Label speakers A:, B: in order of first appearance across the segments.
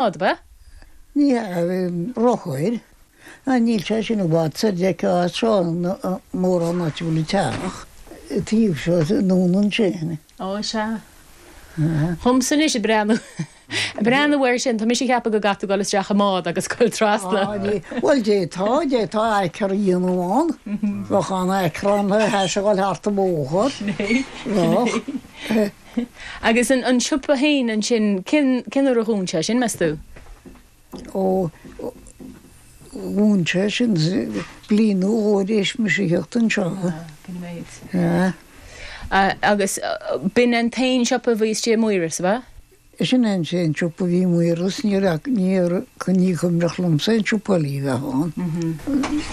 A: Ab ea?
B: Ní hea, bhí rothair. Ná níl sé sin i bhfad soir d'fheicfeá as seo mórán áit a bhfuil an teach, an taobh seo anonn ansin.
A: Ó, sea. Dhomsa anois ag breathnú, ag breathnú air sin, tá mise ag ceapadh go gcaithfidh tú dul isteach i mbád agus dul trasna.
B: Á, ní, bhuel d'fhéadfá, d'fhéadfá acre a dhéanamh ann. Bheadh an-acre ann le hais a dhul thart an bóthar.
A: Sin é, sin
B: é.
A: Bheadh. Agus an siopa féin ansin, cén uair a dhún sé sin, meas tú?
B: Ó, dhún sé sin bliain nó dhó tar éis mise a theacht anseo.
A: Ah, b'in an méid.
B: Yeah.
A: Agus b'in an t-aon siopa a bhí istigh i Maoras, ab ea?
B: Sin é an t-aon siopa a bhí i Maoras, ní raibh, ní, ní cuimhneach liomsa aon siopa eile a bheith ann.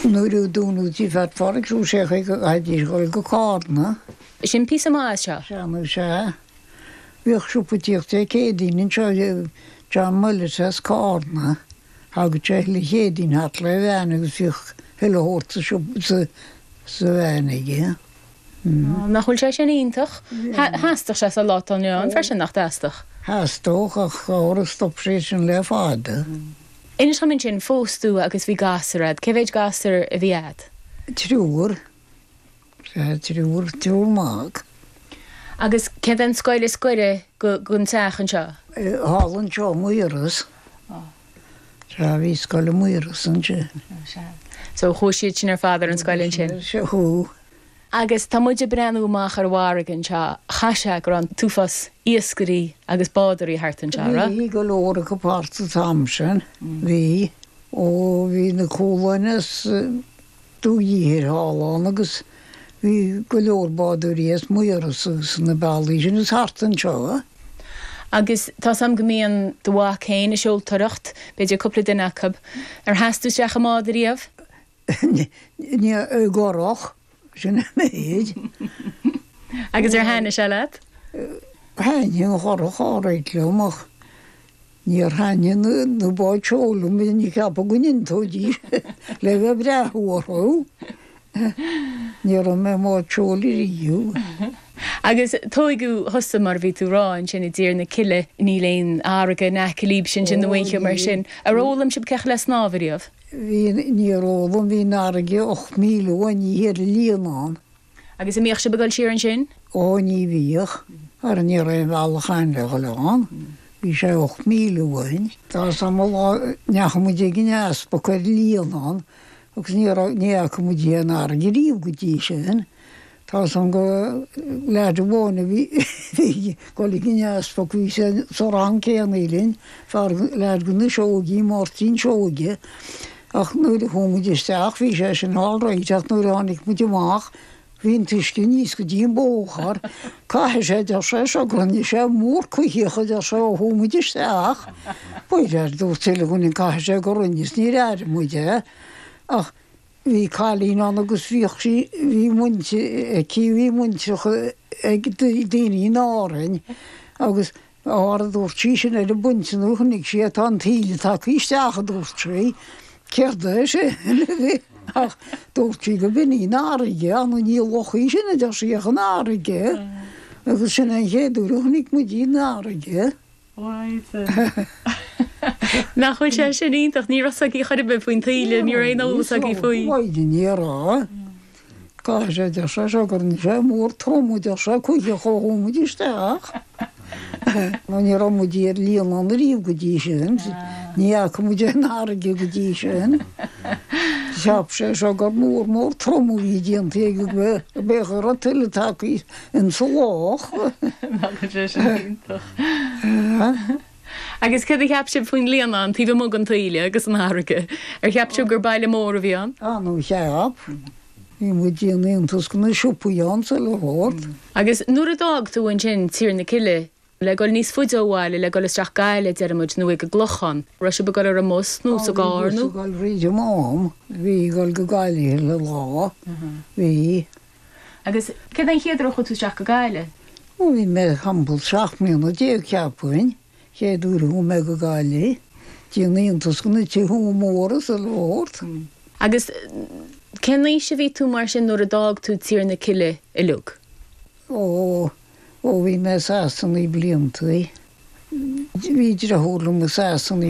B: Nuair a dúnadh Tigh Pheait Phádraig, chuaigh sé chuig, chaithfidís dhul go Cárna.
A: Sin píosa maith as seo.
B: Sea nó sea. Bhíodh siopa tíocht Dé Céadaoin anseo, John Mullet as Cárna. Thagadh sé chuile Chéadaoin thart le veain agus bhíodh chuile shórt sa siopa, sa veain aige.
A: Nach bhfuil sé sin iontach? Theastódh sé sa lá atá inniu ann freisin, nach dteastódh?
B: Theastódh, ach óra stop sé sin le fada.
A: Inis dhom ansin, phós tú agus bhí gasúr a'd. Cé mhéid gasúr a bhí a'd?
B: Triúr. Sea, triúr, triúr mac.
A: Agus céard é an scoil is gaire gon teach anseo?
B: Thall anseo, Maoras. Sea, bhí scoil i Maoras ansin.
A: Sea. So chuaigh siad sin ar fad ar an scoil ansin?
B: Sea, chuaigh.
A: Agus tá muid ag breathnú amach ar an bhfarraige anseo, chaith sé go raibh an t-uafás iascairí agus bádóirí thart anseo, raibh?
B: Bhí go leor acu thart an t-am sin, bhí. Ó, bhí na Cualáin as. Dumha Uidhir thall ann agus bhí go leor bádóirí as Maoras agus na bealaí sin is thart anseo.
A: Agus tá's a'm go mbíonn do mhac féin ag seoltóireacht, b'fhéidir cúpla duine acu. Ar sheas tú isteach i mbád ariamh?
B: Ní, i gcurach, sin an méid.
A: Agus ar thaitnigh sé leat?
B: Thaitnigh an churach alright liom ach Níor thaitnigh na báid seoil liom, ní cheapadh go n-iontóidís le bheith ag breathnú orthu. Ní raibh mé i mbád seoil ariamh.
A: Agus tóigeadh thusa, mar a bhí tú a rá, ansin i dTír na Cille, níl aon fharraige in aice libhse ansin nó aon cheo mar sin. Ar fhoghlaim sibh cén chaoi le snámh ariamh?
B: Bhí, níor fhoghlaim, bhí an fharraige 8 míle uainn thiar i Líonán.
A: Agus an mbíodh sibh ag dul siar ansin?
B: Ó, ní bhíodh, mar ní raibh aon bhealach ann le dhul ann. Bhí sé 8 míle uainn. Tá 'fhios a'm lá a ndeachaigh muid ag an easpag ar Líonán agus ní raibh, ní fhaca muid aon fharraige riamh go dtí sin. Tá 'fhios a'm go leaid amháin a bhí ag dul ag an easpag, bhí sé sa rang céanna linn, fear, leaid de na Seoigí, Máirtín Seoige, Ach nuair a chuaigh muid isteach bhí sé sin all right ach nuair a tháinig muid amach bhí an t-uisce aníos go dtí an bóthar. Caithfidh sé, a deir sé seo, go rinne sé mór cuicheach, a deir sé, ó chuaigh muid isteach. B'fhéidir, a dúirt chuile dhuine, caithfidh sé go rinne is níor airigh muid é. Ach bhí cailín ann agus bhíodh sí, bhí muintir aici, bhí muintreach ag daoine in Árainn agus Óra, a dúirt sí, sin ar an bpointe nuair a chonaic sí é, tá an taoille tagtha isteach, a dúirt sí. Céard é sin? Ach dúirt sí go b'in í an fharraige, ach ní loch í sin, a deir sí, ach an fharraige. Agus sin é an chéad uair a chonaic muid í an fharraige.
A: Nach bhfuil sé sin iontach? Ní raibh 's aici chor ar bith faoin taoille, ní raibh aon eolas aici faoi.
B: Ní raibh. Caithfidh sé, a deir sé seo, go rinne sé mór trom, a deir sé, cuicheach ó chuaigh muid isteach. Nó ní raibh muid ar Líonán ariamh go dtí sin. Ní fhaca muid aon fharraige go dtí sin. Cheap sé seo gur mór mór trom a bhí déanta aige go b'fhéadfadh go raibh tuile tagtha insa loch.
A: Nach bhfuil sé sin iontach. Agus céard a cheap sibh faoin Líonán taobh amuigh den taoille agus an fharraige? Ar cheap sibh gur baile mór a bhí ann?
B: Ah no cheap. Bhí muid ag déanamh iontas go na siopaí ann sa leabhar.
A: Agus nuair a d'fhág tú ansin Tír na Cille le dul níos faide ó bhaile, le dul isteach Gaillimh, deir muid, nó ag an gClochán, raibh sibh ag dul ar an mbus nó sa gcarr nó?
B: Bhí bus ag dul fríd an Mám. Bhí ag dul go Gaillimh chuile lá. Bhí.
A: Agus céard é an chéad uair a chuaigh tú isteach go Gaillimh?
B: Ó bhí mé timpeall 17 mbliana cheapfainn, chéad uair a chuaigh mé go Gaillimh. Déanamh iontas go na tithe móra sa leabhar.
A: Agus cén aois a bhí tú mar sin nuair a d'fhág tú Tír na Cille uilig?
B: Ó, ó bhí mé seasta naoi bliantaí. Bhí deartháir liom i Sasana.